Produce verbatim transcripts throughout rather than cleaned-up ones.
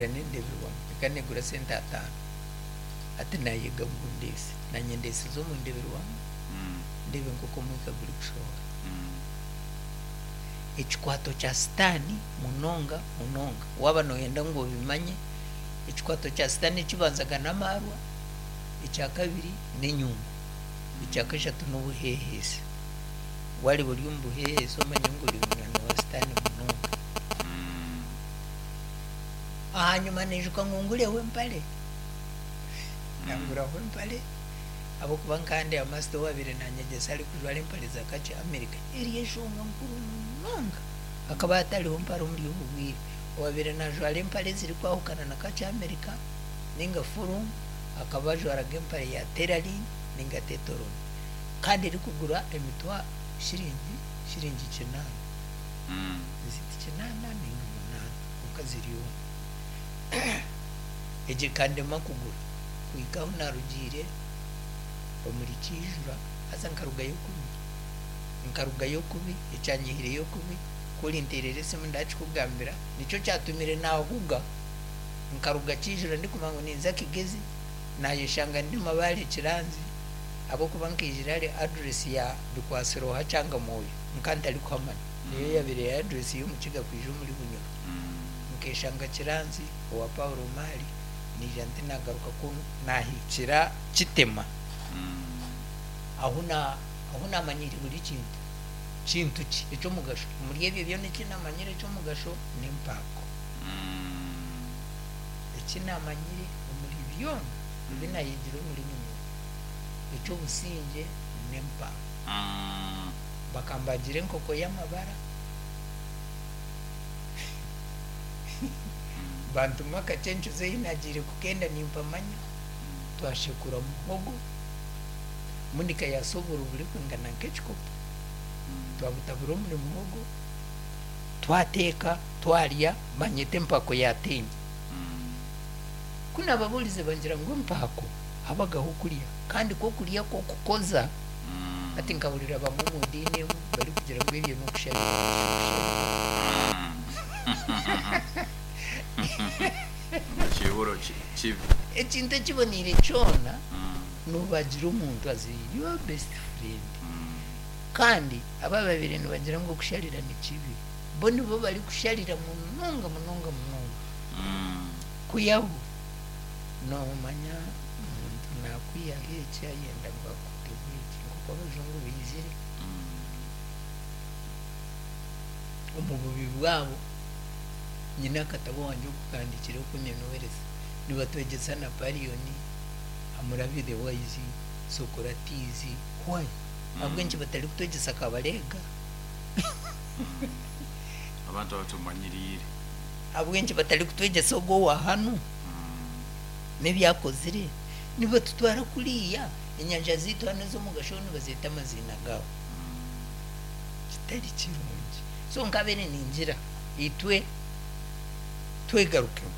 N'endeeberamu ekaba neegura sente ataano hati naayega ngu ndeese naanye ndeesize omu ndeeberwamu ndeebe nk'oku omwika gurikushohora. Ekikwato kya sitaani munonga munonga waaba nooyenda ngu obimanye ekikwato kya sitaani ekibanzaga n'amaarwa, ekyakabiri n'enyungu, ekyakashatu n'obuheheesi. Waareeba ori omu buheheesi omanye ngu ori munywani wa sitaani munonga. Ahanyima naijuka ngu ngureho empare, nanguraho empare ahabw'okuba nka ndeeba master owaabaire nanyegyesa arikujwara empare za kakye America eri enshonga nkuru munonga hakaba hatariho mpare omuri obu bwire. Owaabaire najwara empare ezirikwahukana na kakye America ninga furumu akaba ajwaraga empare ya tailoring ninga tetoroni kandi erikugura emitwaro shiringi shiringi kinaana ziti kinaana ninga munaana kwonka ziri omwe. Egyo ekandema kugura kuhika ahu naarugiire omuri Kiijura haza nkarugayo kubi, nkarugayo kubi ekyanyihireyo kubi ku orinteerera esimu ndakikugambira nikyo kyatumire naahuga nkaruga Kiijura ndikumanya ngu ninza Kigezi naayeshanga ndi Mabaare Kiranzi ahabw'okuba nkaijira ahari address ya Bikwasiroha Kyangamwoyo nka ntarikuhamanya niyo yaabaire eri address y'omukiga kwija omuri Bunyoro. Nkeshanga Kiranzi owa Paulo Maali naija nti naagaruka ku naahikira Kitema ahu na ahu naamanyiire buri kintu. Kintu ki eky'omugasho? Omuri ebyo byona eki naamanyire eky'omugasho n'empaako. Eki naamanyire omuri byona ebi naayegire omuri Bunyoro eky'obusingye n'empaako. Bakambagira enkoko y'amabara bantuma akakyencuza ei naagiire kukenda nimpamanya twashekura muhogo Monica yaasa oburo burikwingana nk'ekikopo twabutabura omuri muhogo twateeka twarya banyeta empaako yaatemba. Ku naababuurize bangira ngu empaako habagaho okurya kandi kwo okurya kw'okukoza hati nkahurira bamwe omu diini emwe barikugira ngu ebyo n'okusharira Ekihuro kibi. Ekintu ekiboneire kyona noobagira omuntu as your best friend kandi aba ababaire nibagira ngu okusharira ni kibi bo nibo barikusharira munonga munonga munonga kwihaho noomanya omuntu naakwihaho eki ayenda ngu akuteho eki nk'oku abajungu baizire omu bubi bwabo nyine akatabo wangye okukahandiikire oku ninohereza nibatwegyesa Napoleon, Hammurabi the Wise, Socrates, why? Ahabw'enki batarikutwegyesa Kabalega? Abantu abatumanyiriire. Ahabw'enki batarikutwegyesa ogwo owa hanu n'ebi akozire? Nibatutwara kuriya enyanja zaitu hanu ez'omugasho nibazeeta amaziina gaabo kitari kirungi. So nkabaire ningira itwe twegarukemu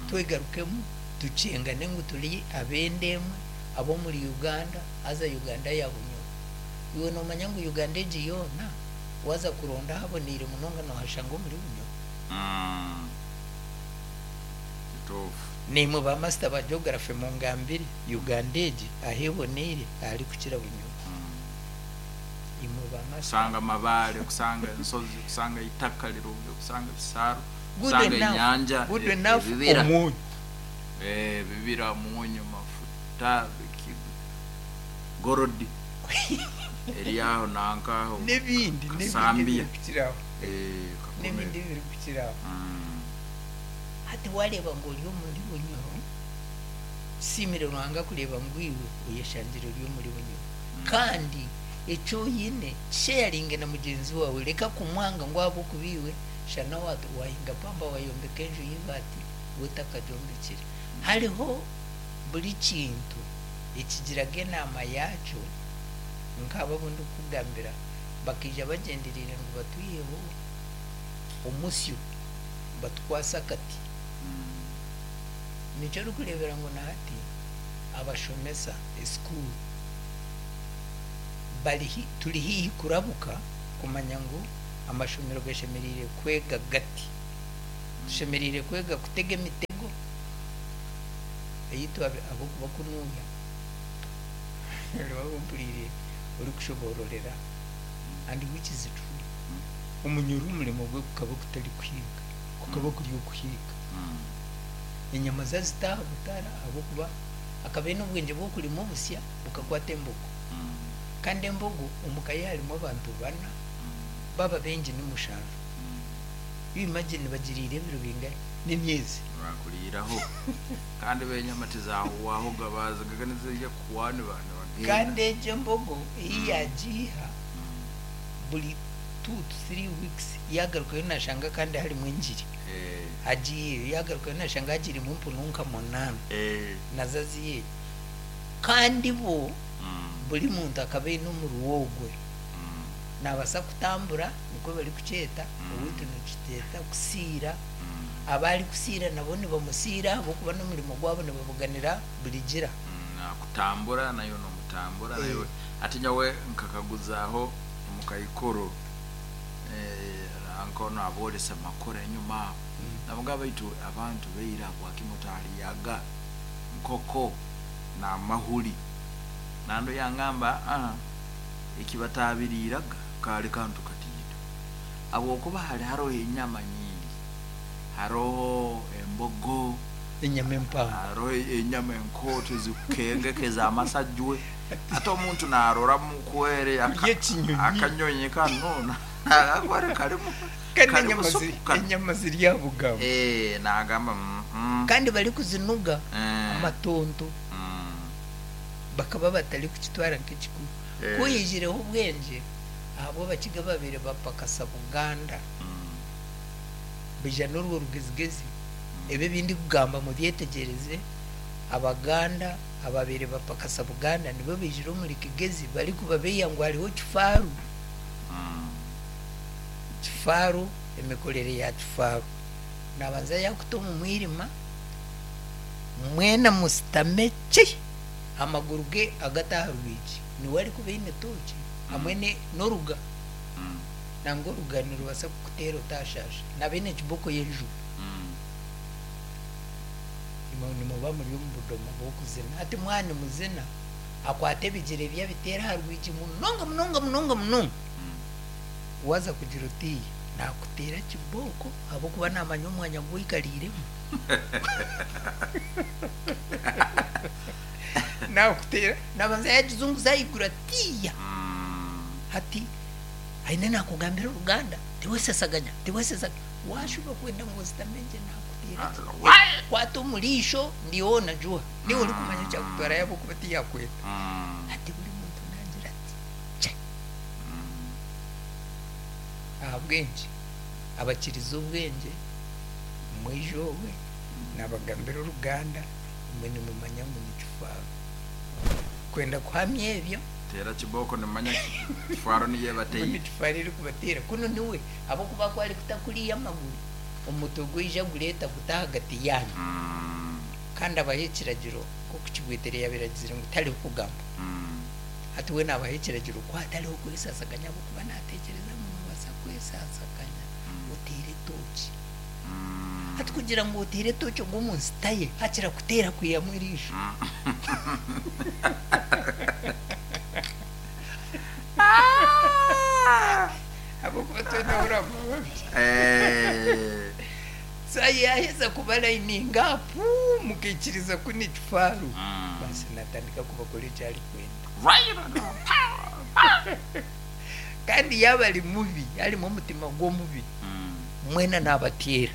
twegarukemu tukyengane ngu turi ab'enda emwe ab'omuri Uganda haza Uganda ya Bunyoro. Iwe noomanya ngu Uganda egi yoona waaza kuronda ahaboneire munonga noohashanga omuri Bunyoro. Kituufu. Naimwe ba master ba geography mungambire Uganda egi ahu eboneire aharikukira Bunyoro. Imwe ba master. Kusanga amabaare, kusanga ensozi, kusanga eitaka rirungi, kusanga ebisaaru, Good kusanga enough, enyanja, good e- enough ebibira. omwonyo. Eh, ebibira, omwonyo, mafuta, biki gorodi eri aho nankaho N'ebindi n'ebindi Kasambia. ebirikukiraho. Eh, Kakumiro. N'ebindi ebirikukiraho. Mm. Hati waareeba ngu ori omuri Bunyoro, kisiimire Ruhanga kureeba ngu iwe oyeshangire ori omuri Bunyoro. Kandi eki oine kisheyaringe na mugyenzi waawe reka kumwanga ngu ahabw'okuba iwe shana wahinga pamba wayombeka enju y'ibaati we otakagyombekire. Hariho buri kintu ekigiraga enaama yaakyo nk'abo abu ndikukugambira bakaija bagyendereire ngu batwiheho omusyo batukwase akati. Nikyo orikureebera ngu na hati abashomesa esikuuru bari turi haihi kurabuka kumanya ngu amashomero gashemereire kwega gati. Tushemereire kwega kutega emitego eyitu abokuba kunuya mpuriire orikushobororera and which is true. Omunyoro omurimo gwe gukaba gutari kuhiiga, kukaba kuri okuhiiga. Enyama zazita aha butara ahabw'okuba akaba aine obwengye bw'okurima obusya bukakwata embogo. Kandi embogo omuka ye harimu abantu bana, baba baingi ni mushanju. You imagine bagiriire ebiro bingahi n'emyezi. Bakuriiraho kandi benyama tizahuwaho bazigaga nizirya kuhwa nibagenda. Kandi egyo embogo ei yagiiha buri two to three weeks yagarukayo nashanga kandi harimu engiri. Agiiheyo yagarukayo nashanga hagirimu empunu nka munaana nazo aziiheyo. Kandi bo buri muntu akaba aine omuruho ogwe. Nabaasa kutambura nikwo barikukyeta, owaitu nitukyeeta kusiira. Abarikusiira nabo nibamusiira ahabw'okuba n'omurimo gwabo nibabuganira burigira. Nakutambura nayo nomutambura nayo. Ati nyowe nkakaguzaho omukaikuru anko naboresa makora enyuma. Nabugamba baitu abantu beira bwakimutaliyaga nkoko na mahuri. Nando yangamba ah ekibatabiriraga kali kantu katito. Abwokuba hali haro enyama nyingi. Haroho embogo, enyama empango, haroho enyama enkoto zikengekeza amasajwe. Ate omuntu narora mukwere akanyonyi kano akwere kalimu kandi enyama ziri abugabo. Eh nagamba mm, kandi bari kuzinuga amatonto bakaba batari kukitwara nk'ekikuru. Kuyijireho obwengye ahabwo abakiga babiri bapakasa Buganda bija n'orwo rugezigezi. Ebyo ebindi kugamba mubyetegereze, Abaganda ababiri bapakasa Buganda nibo bijire omuri Kigezi bari kubabeya ngu hariho kifaru. Kifaru, emikorere ya kifaru nabanza yakuta omu mwirima mwena musitame ki amaguru ge agataha rwigi niwe arikuba aine toki hamwe n'oruga nangwa oruga nirubasa kukuteera otashasha nabaine ekiboko y'enjubu. Nimuba muri omu budoma bw'okuzina ati mwana muzina akwata ebigere bye abiteera aha rwigi munonga munonga munonga munonga. Waza kugira oti nakuteera kiboko ahabw'okuba namanya omwanya gwikariiremu. Nakuteera nabanza yagizunguza ayigura tiya hati aine nakugambira oruganda tiwesesaganya tiwesesaganya washuba kwenda ngu ositamenje nakuteera kwata omurisho ndiho najuha niwe orikumanya ekyakutwara ahabw'okuba tiyakweta. Hati buri muntu nagira ati che ahabwengye abakiriza obwengye mwijowe nabagambira oruganda imwe nimumanya ngu nikifaaro. Kwenda kuhamya ebyo tera kiboko nimanya kifaaro niye bateye nikifaaro eri kubatera kuno niwe ahabw'okuba ku arikutakuriya amaguru omutwe gwija gureeta guta ahagati yanyu. Kandi abaha ekiragiro nk'oku Kibwetere yabiragizire ngu tariho kugamba. Hati we nabaha ekiragiro ku hatariho kwesasaganya ahabw'okuba nateekyereza ngu nobaasa kwesasaganya oteere toki. Hati kugira ngu oteere toki ogwo omu nsita ye hakira kuteera kwihamu eriisho. Ahabw'okuba twena huramababi. Yaheza kubalayininga apu mukaikiriza ku ni kifaru. Basi natandika kubakora eki arikwenda. Kandi yaba ari mubi harimu omutima gw'omubi mwena nabateera.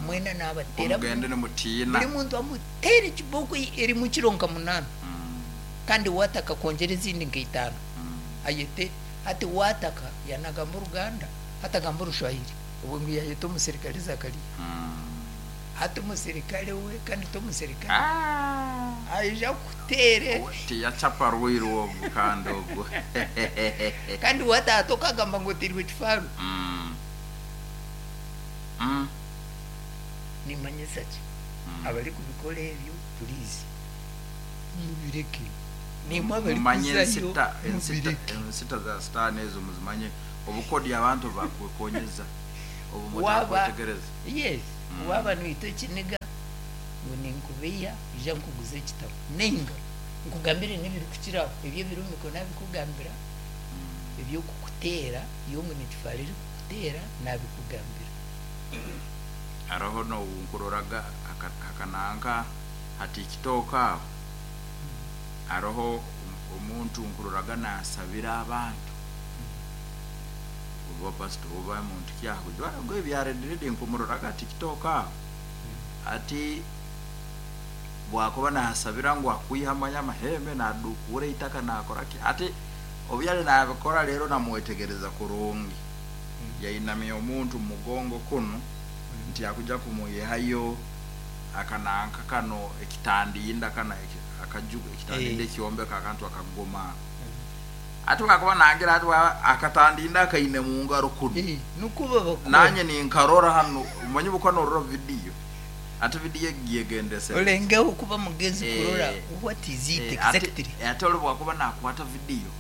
Mwena nabateera omugende nimutiina buri muntu amuteera ekiboko erimu kiro nka munaana. Kandi wataka kwongyera ezindi nka itaano ayete hati wataka yanagamba oruganda hatagamba orushwahiri obwo ngu yayeta omusirikare Zakaria. Hati omusirikare we kandi tomusirikare aija kuteere tiyachapa rwiru ogwo kandi ogwo kandi watata okagamba ngu oteirwe kifaru. Nimanyisa ki abari kubikora ebyo purizi mubireke. Nimwe abari kuzayo mubireke. Ensita za sitaani ezo muzimanye obukodi abantu bakwekonyeza. Obu Waba- mutakwetegereza. Yes. Mm. Waba noita ekiniga ngu ninkubeiha, ija nkuguze ekitabo ninga nkugambire n'ebirikukiraho ebyo ebiri omu mikono nabikugambira, ebyokukuteera iyo ngu nikifara erikukuteera nabikugambira. Hariho nonkuroraga hakananka hati kitooka aho hariho omuntu nkuroraga nasabira abantu, oba pastor oba muntu kyaho jwara ebyarediredi, nkumuroraga ati kitooka aho ati bwakuba nasabira ngu akwiha amanya amahembe nadukura itaka nakoraki, ati obyali nabikora. Rero namwetegereza kurungi, yainamya omuntu mumugongo kunu nti akuja kumuyihayo akananka kano ekitandinda kana akaju ekitandinda Eh. ekyombeka akantu akagoma, ati bwakuba nangira ati akatandinda akaine mungaro kuno. Eh, nukuba bakora. Nanye ninkarora hano umanyi buko norora video, ati video egiyegendese. Olengeho kuba mugezi Eh, kurora what is it Eh, exactly. ate ate oli bwakuba nakwata video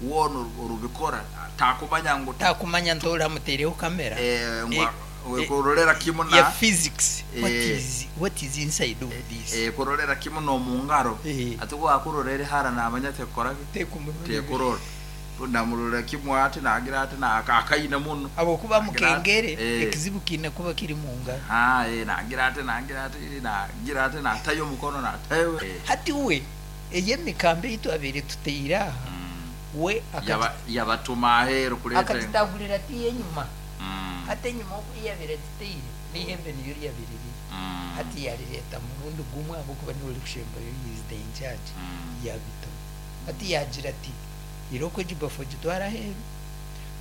wona orubikora takumanya ngu Takumanya nti oramutereho kamera eh, ngu Eh, eh, kurorera kimu ya na physics, what Eh. is what is inside of this. eh, kurorera kimu nomungaro. Eh. Ati wakurorera hara namanya tekorage. Tekumurora. Tekurora namurorera kimu ati nagira ati na akaine muno. Abokuba Nagira ati- mukengere eh. ekizibu kiine kuba kiri mungaro. Ah, eh, nagira ati nagira ati nagira ati natayo omukono natayo eh. Hati we ey'emikambi ei twabaire tuteire aha, Mm. we akati- Yaba- yabatuma aheeru kureeta akatitagurira ti enyuma. Mm. Hati enyuma oku yabaire agiteire n'ihembe niyo ryabaire riri. Mm. Hati yarireta murundi gumwe ahabwokuba niwe orikushembayo, he is the in charge. Mm. Yabitamu, hati yagira ati iroko egibafu ogitwara aheeru,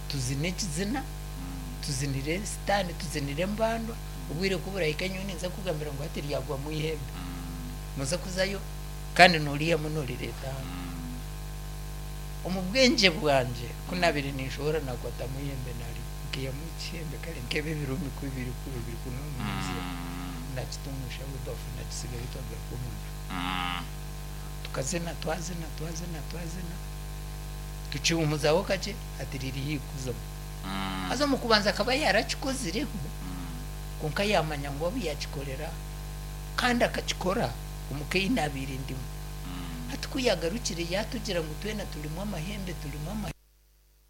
tuzine ekizina. Mm. Tuzinire sitaani, tuzinire embandwa. Obwire kuburahika nyowe ninza kugambira ngu hati ryagwamu ihembe. Mm. Noza kuzayo kandi noriyamu norireta hano. Mm. Omu bwengye bwangye kunabire ninshobora nakwatamu ihembe nari nkiyamu ekihembe kare nkebe ebirumi bibiri biri kununuuzya. Mm. Nakitumusha ebafu, nakisigayo, twagaruka omunju. Mm. Tukazina, twazina, twazina, twazina, tukihumuzaho kakye, ati riri hikuzamu. Mm. Haza omu kubanza akaba yarakikozireho. Mm. Konka yamanya ngu abu yakikorera kandi akakikora omuka ei nabiire ndimu. Mm. Hati ku yagarukire yatugira ngu twena turimu amahembe, turimu amahembe.